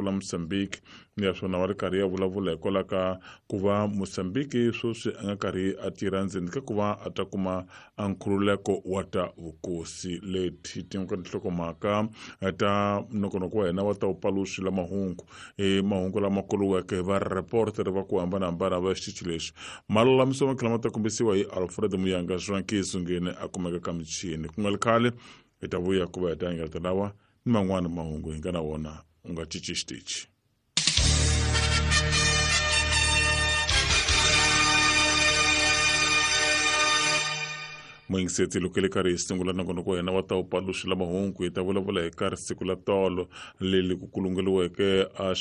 La Mozambique naswona va ri karhi ya vulavula hikwalaho ka ku va Mozambique sweswi a nga karhi a tirha ndzeni ka ku va a ta kuma a nkhululeko wa ta vukosi. Leti ti nga tinhlokomhaka ta nongonoko wa hina wa ta vupaluxi la mahungu, i mahungu lama kuluweke hi vareporter va ku hambanahambana va xitichi lexi. Malulamiso ma tlhela ma ta kombisiwa hi Alfred Muyanga Zwankiso ngene a kumeka ka michini. Ku nga ri khale hi ta vuya ku va hi ta engetela lawa ni man'wana mahungu hi nga na wona. U nga cinci xitichi. Muyingiseti, loko le karhi hi sungula nongonoko wa hina wa ta upaluxi la mahungu, hi ta vulavula hi karhi siku la tolo leli ku kulungeliweke a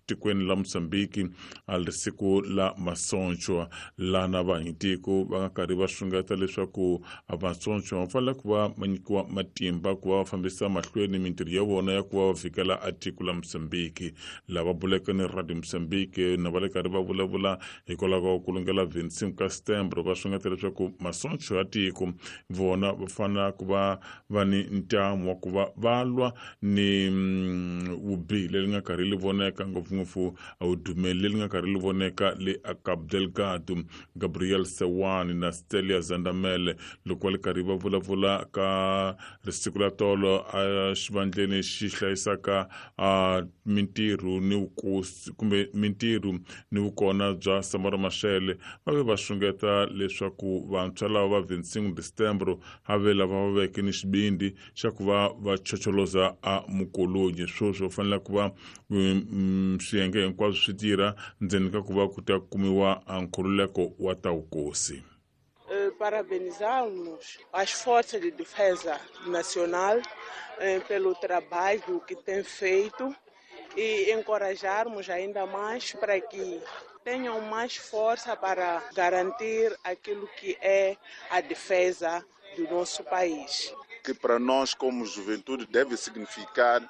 tikweni la Mozambique, a ri siku la masonchwa, lana vahanyitiko va nga karhi va xungeta leswaku masonchwa va fanele ku va ma nyikiwa matimba ku va va fambisa mahlweni mintirho ya vona ya ku va va vikela a tiko la Mozambique. Lava buleke ni Radio Mozambique na va le karhi va vulavula hikwalaho ka ku kulungela 25 ka Setembro, va xungeta leswaku masonchwa ya tiko vona va fanele ku va va ni ntamu wa ku va va lwa ni vubihi leri nga karhi li voneka, ngopfungopfu vudumeli leri nga karhi li voneka le a Cabo Delgado. Gabriel Sewani na Stelia Zandamele loko va ri karhi va vulavula ka risiku la tolo a xivandleni xi hlayisaka a mintirho ni vukosi kumbe mintirho ni vukona bya Samora Machel, va ve va xungeta leswaku vantshwa lava va 25 December a ve lava va veke ni xivindzi xa ku va va chocholoza a mukolonyi. Sweswi va fanele ku va swiyenge hinkwaswo swi tirha ndzeni ka ku va ku ta kumiwa a nkhululeko wa ta vukosi. Parabenizarmos as Forças de Defesa Nacional pelo trabalho que têm feito e encorajarmos ainda mais para que tenham mais força para garantir aquilo que é a defesa do nosso país. Que para nós, como juventude, deve significar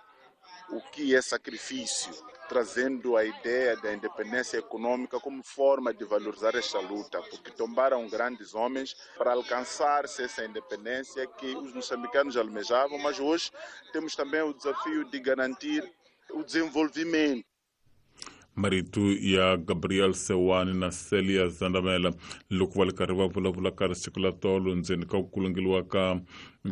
o que é sacrifício, trazendo a ideia da independência econômica como forma de valorizar esta luta, porque tombaram grandes homens para alcançar-se essa independência que os moçambicanos almejavam, mas hoje temos também o desafio de garantir o desenvolvimento. Marito ya Gabriel Sewani na Celia Zandamela loko va ri karhi va vulavula ka risiku la tolo ndzeni ka ku kulungeliwa ka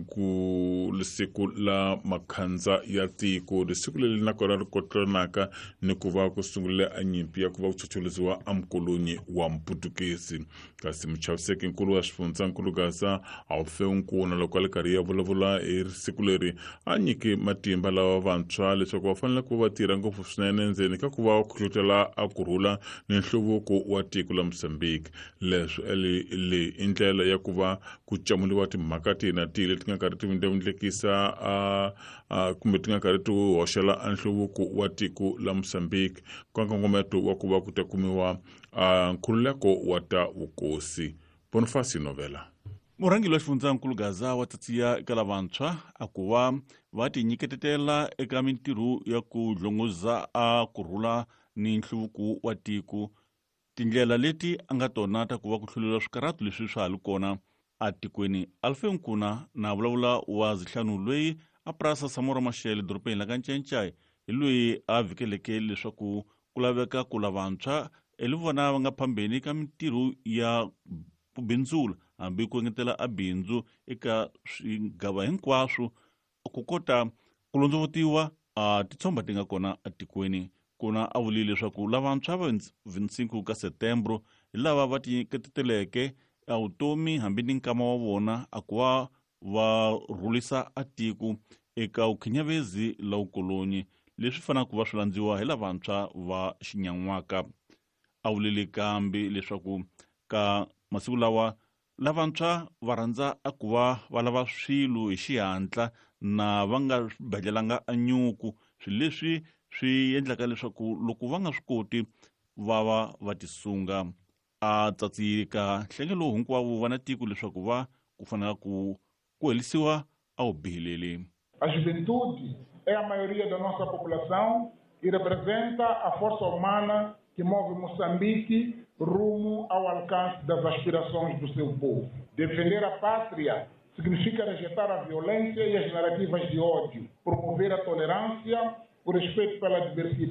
ku siku la makhandza ya tiko, risiku leri nakona ri kotlanaka ni ku va ku sungulile a nyimpi ya ku va ku chocholoziwa a mukolonyi wa Mputukezi. Kasi muchaviseki nkulu wa xifundzankulu Gaza Alfeu Nkuna loko a ri karhi ya vulavula hi siku leri, a nyike matimba lava vantshwa leswaku va fanele ku va tirha ngopfu swinene ndzeni ka ku va kuhlohlotela a kurhula ni nhluvuko wa tiko la Mozambique. Leswi leyi i ndlela ya ku va ku camuliwa timhaka tihi na tihi leti nga karhi ti vindlavindlekisa kumbe ti nga karhi ti hoxela a nhluvuko wa tiko la Mozambique ka nkongometo wa ku va ku ta kumiwa nkhululeko wa ta vukosi. Boniface Novela. Murhangeri wa xifundzankulu Gaza wa tsatsiya eka lavantshwa a ku va va tinyiketetela eka mintirho ya ku dlongoza a kurhula ni nhluvuko wa tiko. Tindlela leti a nga tona ta ku va ku hluleriwa swikarhato leswi swa ha li kona atikweni. Alfe Nkuna na vulavula wa zihlanu loyi a purasa Samora Machel dorobeni la ka Ncencai hi loyi a vhikeleke leswaku ku laveka ku lavantshwa hi vona va nga phambeni ka mintirho ya ku bindzula hambi ku engetela a bindzu eka swigava hinkwaswo ku kota ku londzovutiwa a titshomba ti nga kona atikweni. Kuna a vulile leswaku lavantshwa va 25 ka Setembro hi lava va tinyiketeleke a vutomi hambi ni nkama wa vona a ku va va rhulisa a tiko eka vukhinyavezi la vukolonyi leswi fanaka ku va swi landziwa hi lavantshwa va xinyan'waka. A vulile kambe leswaku ka masiku lawa lavantshwa va rhandza a ku va va lava swilo hi xihatla na va nga swi badlelanga a nyuku, swilo leswi swi endlaka leswaku loko va nga swi koti va va va tisunga. A tsatsika nhlengelo hinkwavo va na tiko leswaku va ku fanela ku ku helisiwa a wu bihileli. A juventude é a maioria da nossa população e representa a força humana que move Moçambique rumo ao alcance das aspirações do seu povo. Defender a pátria significa rejeitar a violência e as narrativas de ódio, promover a tolerância, o respeito pela diversidade.